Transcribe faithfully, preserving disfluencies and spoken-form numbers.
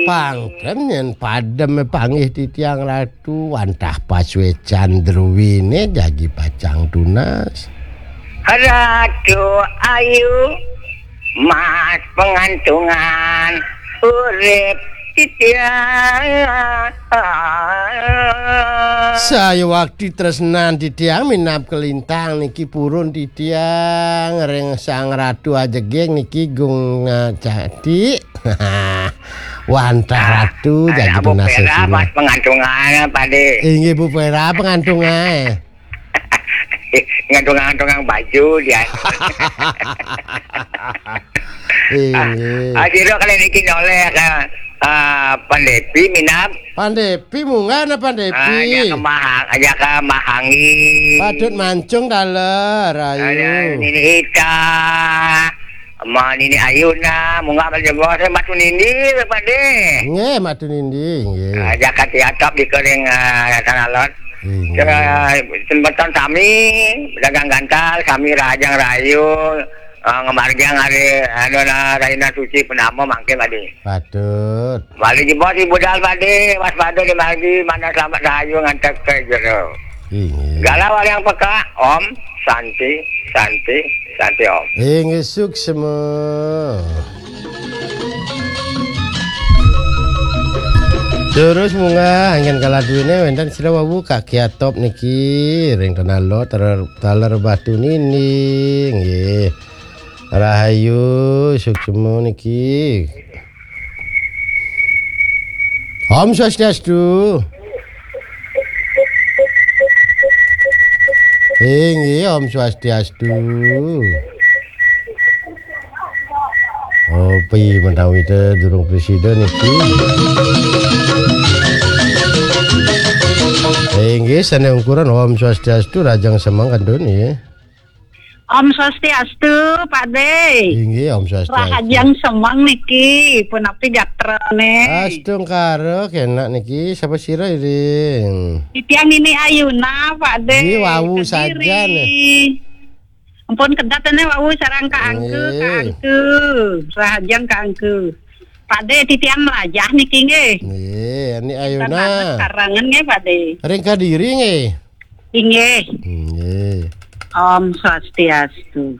Pangken yen padem panggih titiang Ratu, wantah pasuecan druwine jagi pacang tunas. Ratu Ayu, Mas Pengantungan, urip titiang. Saya waktu tresnan titiang minab kelintang niki purun titiang ring Sang Ratu Ajeging niki gung, eh, cati. Wantah Ratu jagi tunas sesina. Pas pengantungan, Pade. Inggih, Bu Pera, pengantungan. Ngantung-ngantung baju dia. Inggih. Ah, sira kali niki noleh ka, ah, Pandepi minab. Pandepi munggah na Pandepi. Ah, ya ke Mahang, ya ke Mahangi. Patut mancung daler, ayu. Ada Nini Ita. Sama Nini Ayuna, munggah balik jebos, Batu Nindi, Pade. Nggih, Batu Nindi, nggih. Ah, jagat Tiatap di Kering, ah, Tanah Lot. Inggih. Ke, sembetan sami, dagang gantal, sami Rahajeng Rahayu, eh, ngemargiang hari, anu, na, Rahina Suci Purnama mangke, Pade. Patut. Balik jebos di budal, Pade, waspada di margi, mana selamat rahayu ngantek ke jero. Inggih. Galah waliang peka, Om, Santi, Santi, Santi, Om. Inggih, suksma. Terus munggah, anggen kala duwene wenten sira wau Kak Kiatop niki, ring Tanah Lot, taler, taler Batu Nindi, nggih. Rahayu, suksma niki. Om Swastiastu. Inggih, Om Swastiastu. Oh, pi menawi te durung presida niki. Inggih, sane ungkuran Om Swastiastu, Rahajeng Semeng kantun, nggih. Om Swastiastu, Pak De. Inggih, Om Swastiastu. Rahajeng Semeng niki, punapi gatrane? Astungkara, kenak niki, sapa sira iring? Titiang Nini Ayuna, Pak De. Nggih, wau Kediri. Saja nih. Ampun kedatene wau sareng Kak Angku, Kak Nggih. Angku. Rahajeng Kak Angku. Pak De, titiang melajah niki nggih. Nggih, Ni Ayuna. Karangan nggih, Pak De. Ring Kediri nggih. Inggih. Nggih. Om Swastiastu.